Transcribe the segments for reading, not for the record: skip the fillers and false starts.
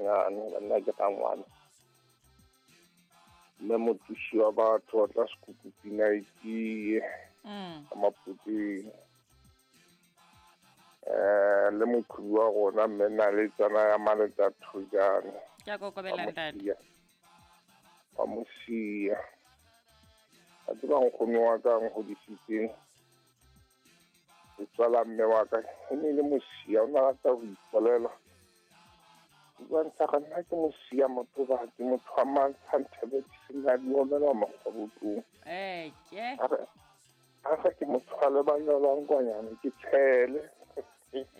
Monyane, banna ke rangwane. Mme mothusi wa batho wa tla sekuku pina e tie ka Mapoteng. Le moqhubi wa rona mme Naletsana ya Maletsa Thojane. Ke a kokobela ntate. Wa mosia. A tseba nkgono wa ka nkgodisitseng. Letswala mme wa ka e ne le mosia, o ne a rata ho ipolela. Bua ntsha ga nna ke mosia motho ba ke motho wa mantsha nthebe ke sena di omela makgwabotlong. Ke. A re ke motho wa lebanyolwang kwanyane ke tshele.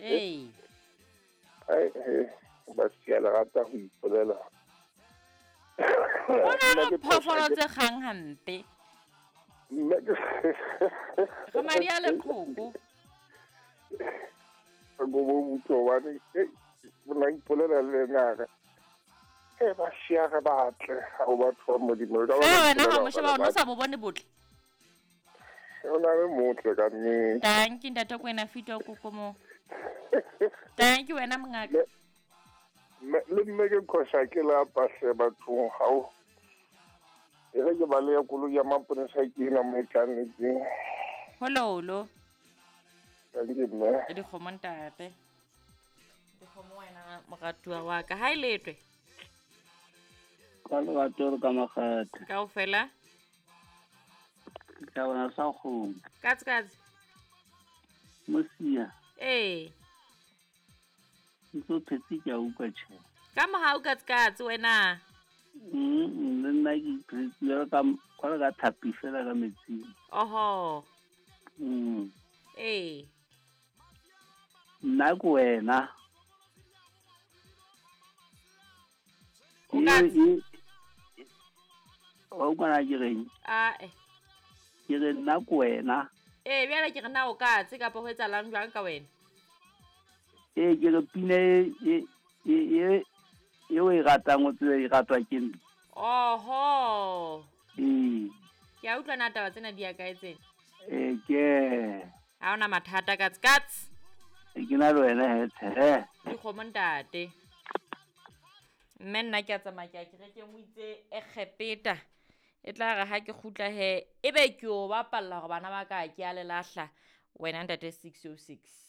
Ee. Ai ba sia le rata ho ipolela. Ho na le phoofolo tse kgang hampe. Mme ke Re madi a leqhoko. Go bo motho wa ne bona ipolela le nna e ba sia re batle ha o batho ba Modimo. Ka wena ha mo sheba o no sa bo bone botle. O na le motle ka nnete. Thank you ntate Kwena fito koko mo. Thank you wena mongaka. Le mme ke khosa ke la pahle bathong hao. E re ke ba le ya koloi ya maponesa ke ena mo e tlang. Hololo. Thank you mme. Dikgomo ntate. Dikgomo wena moratuwa wa ka. Ha e letwe. Ka lerato le ka makgethe. Kaofela. Ke tla bona sa kgomo. Katse katse. Mosia. Ee. Ntse o phetse ke a utlwa tjhe. Ka mohau katse katse wena. Le nna ke iphetse jwalo ka jwalo ka thapi fela ka metsing. Oho. Ee. Nna ke wena. O katse. Wa utlwa na ke reng? Ae. Ke re nna ke wena. Ee, bjale ke re na o katse kapa ho etsahalang jwang ka wena? Ee, ke re pina e o e ratang o tsebe e ratwa ke nna. Oho. Ee. Ke a utlwa na taba tsena di ya kae tsena? Ee, ke. Ha ona mathata katse katse. Ke na le wena he tshe. Dikgomo ntate. Mme nna ke a tsamaya ke a kerekeng o itse Egepeta. E tla re ha ke kgutla he ebe ke o bapalla hore bana ba ka ke a le lahla wena ntate 606.